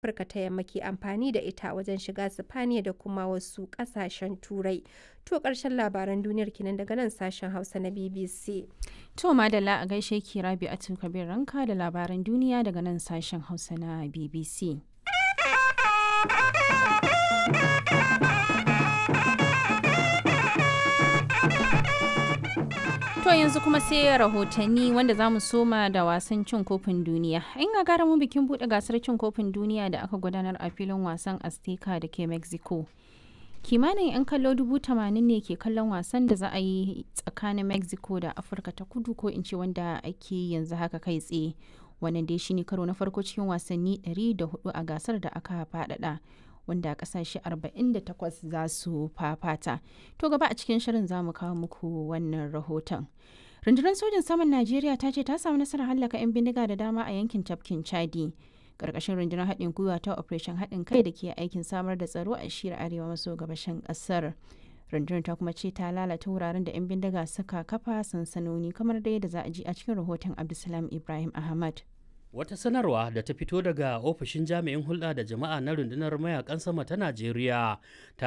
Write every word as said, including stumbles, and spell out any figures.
Afirka ta Yamma ke amfani da ita wajen shiga Sipaniya da kuma wasu ƙasashen Turai. To ƙarshen labaran duniyar kenan daga nan sashen Hausa na B B C. To madalla, a gaishe ki Rabi'atu Kabir Ranka da labaran duniya daga nan sashen Hausa na B B C. To yanzu kuma sai rahotanni, wanda za mu soma da wasan cin kofin duniya. In gagarumin bikin buɗe gasar cin kofin duniya da aka gudanar a filin wasan Azteca da ke Mexico. Kimanin 'yan kallo dubu tamanin ne ke kallon wasan da za a yi tsakanin Mexico da Afirka ta Kudu, ko in ce wanda ake yanzu haka kai tsaye. Wannan dai shine karo na farko cikin wasanni ɗari da huɗu a gasar da aka faɗaɗa, wanda kasashe arba'in da takwas za su fafata. To gaba a cikin shirin za mu kawo muku wannan rahoton. Rundunar sojin saman Najeriya ta ce ta samu nasarar hallaka 'yan bindiga da dama a yankin tafkin Chadi, ƙarƙashin rundunar haɗin gwiwa ta Operation Haɗin Kai da ke aikin samar da tsaro a shiyar arewa maso gabashin ƙasar. Rundunar ta kuma ce ta lalata wuraren da 'yan bindiga suka kafa sansanoni, kamar dai da za a ji a cikin rahoton Abdulsalam Ibrahim Ahmad. Wata sanarwa da ta fito daga ofishin jami'in hulɗa da jama'a na rundunar mayakan sama ta Najeriya ta